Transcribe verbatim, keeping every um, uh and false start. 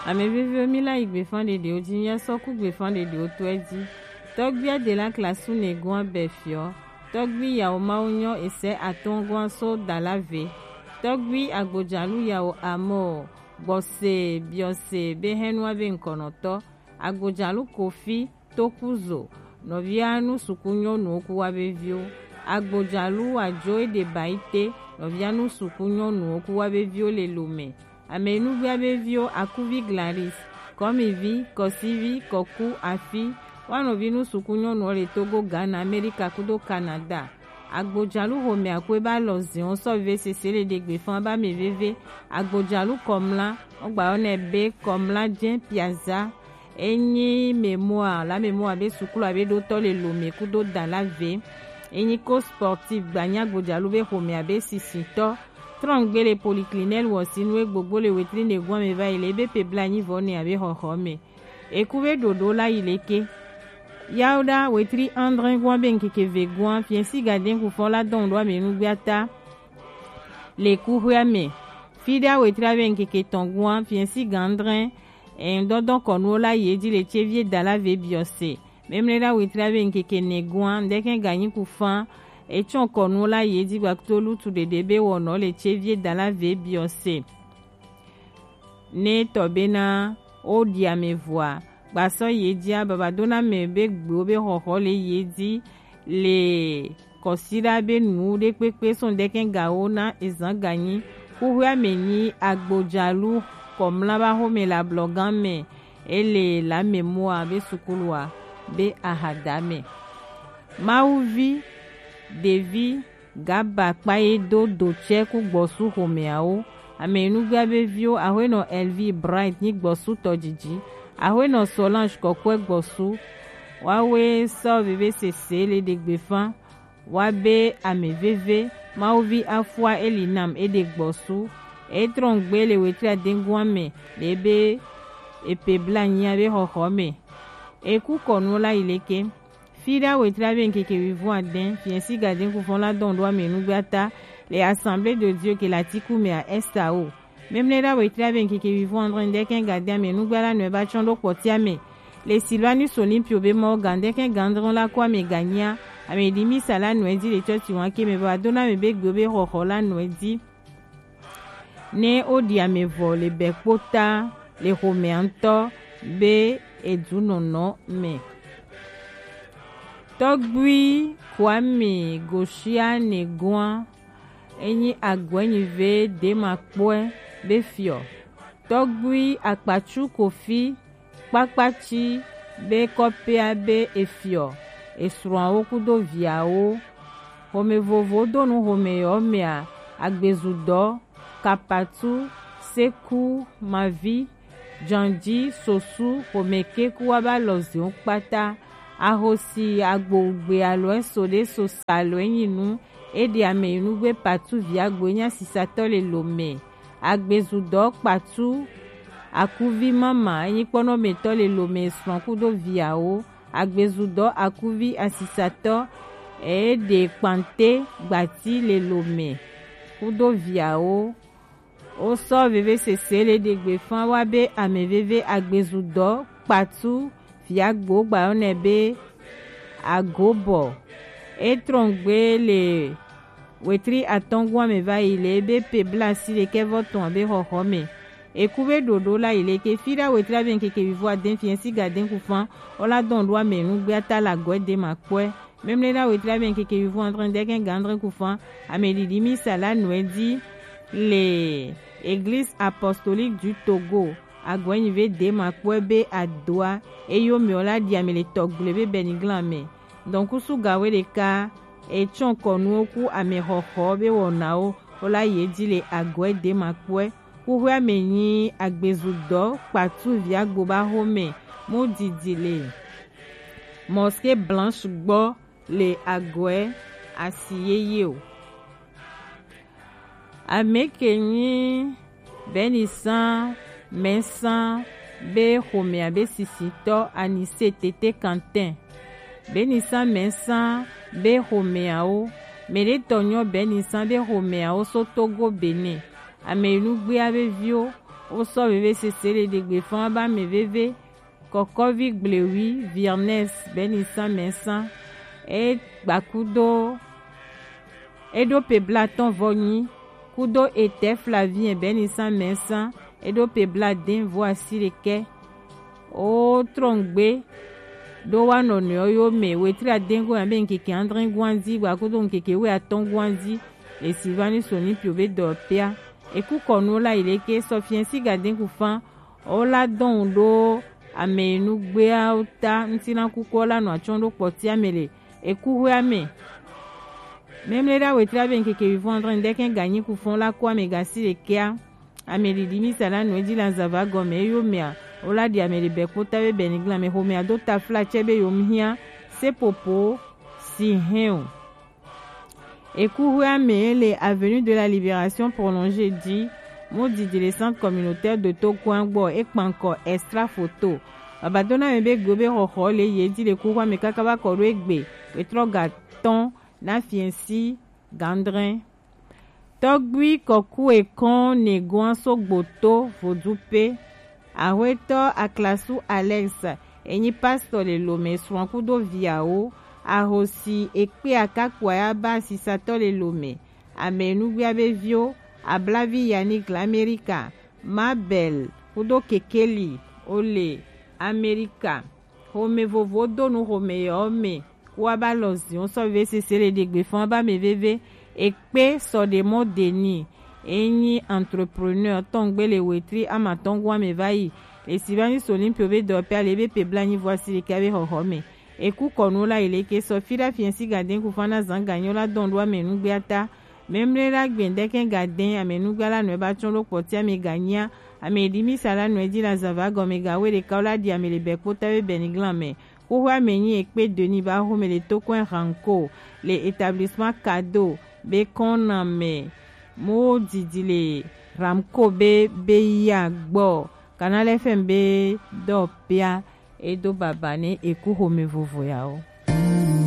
Ame veviwo, mi la yi gbefan ɖeɖewo ji, mi asɔ ku gbefan ɖeɖewo tɔe ji. Tɔgbi Adela Klasu Negoa Befiɔ, tɔgbi Yawo Mawu nyɔ ese atɔngɔa so Dalave, tɔgbi Agbojalu Yawo Amɔ, Gbɔse Biɔse be hɛnua be ŋkɔnɔtɔ, Agbojalu Kofi Tokuzo, nɔvia nu suku nyɔnuwo ku wa be viwo, Agbojalu Ajo Edebaite, nɔvia nu suku nyɔnuwo ku wa be viwo le Lome. Ame nugbea be viwo Akuvi Glaris, Kɔmivi, Kɔsivi, Kɔku, Afi, wa nɔvi nu suku nyɔnuwo le Togo, Ghana, Amerika kudo Canada. Agbojalu xomɛ akwe ba lɔ zion sɔ ve sese le ɖe gbe fan ba me veve. Agbojalu Kɔmla, ogba yɔ nɛ be Kɔmla jɛ Piazza. Enyi mémoire, la mémoire be sukulu abe ɖotɔ le Lome kudo Dalave. Enyi ko sportif gba nyi Agbojalu be xomɛ abe sisitɔ. Trɔngbe le polyclinique wɔ si nu egbogbo le wetri negoa me va yi le ebe pe bla nyi vɔ ne abe xɔxɔ me. Eku be ɖoɖo la yi leke. Yawoɖa wetri andre goa be ŋkeke ve goa fiɛsi gadɛn ku fɔ la dɔn ɖo ame nugbea ta. Le kuxwea me. Fiɖa wetri abe ŋkeke tɔn goa fiɛsi gandrɛ. Ɛn dɔdɔn kɔnuwo la yi edzi le tsevi Dalave Biɔse. Memle ɖa wetri abe ŋkeke ne goa ŋdɛkɛ ganyi ku fan. Etsɔn kɔnuwo la yi edzi gbakto lutu ɖeɖe be wɔnɔ le tsevi Dalave Biɔse. Ne tɔ bena wo ɖi ame vɔa, gbasɔ ye dzia babadona mɛ be gbewo be xɔxɔ le ye dzi le kɔsiɖa be nu ɖe kpekpe sɔn ɖekɛ gawo na ezan ganyi. Kuxwea me nyi Agbojalu Kɔmla ba xome le ablɔgan mɛ, ele la mémoire be sukulua be ahada mɛ. Mawuvi, ɖevi, Gaba kpa ye do do tsɛ ku gbɔsu xomɛawo. Ame nugbea be viwo, Axwenɔ Elvi Bright nyi gbɔsu tɔdidi. Axwenɔ Solange kɔkɔɛ gbɔsu. Wawe sɔ veve sese le ɖe gbefa. Wa be ame veve, Mawuvi afua eli nam e ɖe gbɔsu. E trɔn gbe le wetri adengoa me le be epe bla nyia be xɔxɔ me. Eku kɔnu la yi leke. Fiɖa wetri abe ŋkeke wivɔn adɛn, fiɛsi gadɛn kufɔn la dɔn ɖo ame nugbe ata le Assemblée de Dieu ke le Atiku mɛ a S A O. Memle ɖa wetri abe ŋkeke wivɔn adɛn ɖekɛ gadɛn ame nugbe la nɔɛ ba tsɔn ɖo kpɔtia mɛ. Le Sylvanus Olympio be mɔ gandɛkɛ gandrɔn la ko ame ganyia, ame ɖi misa la nɔɛ di le tsɔtsi wan ke mɛ ba dona ame be gbe be xɔxɔ la nɔɛ di. Ne woɖi ame vɔ le bɛ kpota le xomɛa ŋutɔ be edunɔnɔ mɛ. Tɔgbui Kwame Gosia Negoa enyi agɔɛnyive demakpɔɛ be fiɔ. Tɔgbui Akpatsu Kofi kpakpatsi be kɔpea be efiɔ esrɔ̃awo kudo viawo. Xome vovo do nu xome yɔ mea, agbezudɔ, kapatu, seku, mavi, janji, sosu, xome keku wa ba lɔ ziwo kpata. Ahosi agbogbe alo eso ɖe so sa lo enyi nu. Eɖe ame yi nugbe patu vi agbo enya sisatɔ le lo me. Agbezudɔ kpatu akuvi mama enyi kpɔnɔmetɔ le lo me srɔ̃ kudo viawo. Agbezudɔ akuvi asisatɔ eɖe kpante gbati le lo me kudo viawo. Wosɔ veve sese le ɖe gbefa wa be ame veve agbezudɔ kpatu viagbo gbayɔ nɛ be agobɔ. Etrɔn gbe le wetri atɔngua me va yi le ebe pe blasi ɖekɛ vɔ tɔn be xɔxɔ me. Eku be ɖoɖo la yi leke fiɖa wetri abe ŋkeke wivɔ adɛn fiɛsi gadɛn kufan. Wola dɔn ɖo ame nugbe ata la gɔɛ de ma kpɔɛ. Memle ɖa wetri abe ŋkeke wivɔ adre ɖekɛ ga adre kufan. Ame ɖiɖi misa la nɔɛ di le Église Apostolique du Togo. Agɔɛ nyi ve de ma kpɔɛ be adoa eyo mɛ wola ɖi ame le tɔgble be bɛniglan mɛ. Dɔnkusu gawe ɖeka etsɔn kɔnuwo ku ame xɔxɔ be wɔnawo wola ye di le agɔɛ de ma kpɔɛ. Kuxwea me nyi agbezudɔ kpatu viagbo ba xome mu didi le Mosquée Blanche gbɔ le agɔɛ asi yeye o. Ame ke nyi Benisan Mɛnsan be xomea be sisitɔ Anise Tete Quentin. Benisan Mɛnsan be xomeawo. Mɛɖetɔ nyɔ Benisan be xomeawo so Togo Benin. Ame yi nugbea be viwo Wo sɔ veve sese le ɖegbe fɔn ba mɛ veve. Kɔkɔvi gblewi Virnes Bɛnisan Mɛsan, e gba kudo e ɖo pe blatɔn vɔ nyi, kudo etɛ Flavien Bɛnisan Mɛsan, e ɖo pe bladɛn vɔ asi ɖekɛ. O trɔngbe ɖo wa nɔnɔewo yo mɛ, wetri adɛn go ya be nkeke adrɛn guanzi gba kudo nkeke we atɔn guanzi, le Sylvanus Olympio be dɔ pia. Eku kɔnu la yi leke sɔ fiɛnsi gadɛn ku fan. Wo la dɔn ɖo amɛnugbeawo ta ŋuti na kuku la nɔ atsɔn ɖo kpɔtia mɛ le ekuhwea mɛ. Mɛmlɛ ɖa wetri abe nkeke wivɔn adrɛn ɖekɛ ganyi ku fɔn la ku amɛ gasi ɖekɛa. Amɛ ɖiɖi misa la nɔ edzi le azava gɔmɛ eyo mɛa, wo la ɖi amɛ ɖe bɛ kpota be bɛ nigla mɛ xomɛa do tafla tsɛ be yom hiã sepopo si hɛn o. Ekuhwea mɛ le Avenue de la Libération prolongée di, mo didi le centre communautaire de Tokuan gbɔ, ekpankɔ extra photo. Babadona mɛ be go be xɔxɔ le ye di le kuhwea mɛ kaka ba kɔ ɖo egbe, wetrɔ ga tɔn na fiɛnsi gandrɛn. Tɔgbui kɔku ekɔn negoan sogbo to vodupe. Ahwetɔ Aklasu Alex, enyi pastor le Lomé, srɔ̃ kudo viawo. Ahosi ekpe akakpoa ya ba asisatɔ le Lomé. Ame nugbia be viwo, Ablavi Yannick l'América, Mabel kudo Kekeli o le América. Xome vovo do nu xome yɔ me. Wa ba lɔ zion sɔ ve sese le ɖegbe fɔn ba mɛ veve. Ekpe sɔ ɖe mɔ deni. Enyi entrepreneur tɔngbe le wetri ama tɔngua mɛ va yi. Esi va nyi Sonimpio be dɔ pe ale be pe bla nyi voisi le ka be xɔxɔ mɛ. Eku kɔnu la yi le ke sɔ fi ɖa fiɛnsi gadɛn ku fana zan ganyo la dɔn ɖo ame nugbe ata. Mɛmlɛ la gbɛndɛ kɛ gadɛn ame nugbe la nɔ ba tsɔn ɖo kpɔti ame ganyia. Ame ɖi misa la nɔ edzi la zava gɔme gawe ɖeka wo la ɖi ame le bɛ kpota be bɛ ni glan mɛ. Xoxoa mɛ nyi ekpe deni ba xome le tokɔe Ranko le établissement Cadeau be kɔn na mɛ. Mo didi le Ramco be be ya gbɔ. Canal F M be dɔ pia edo baba ne eku xome vovo ya o.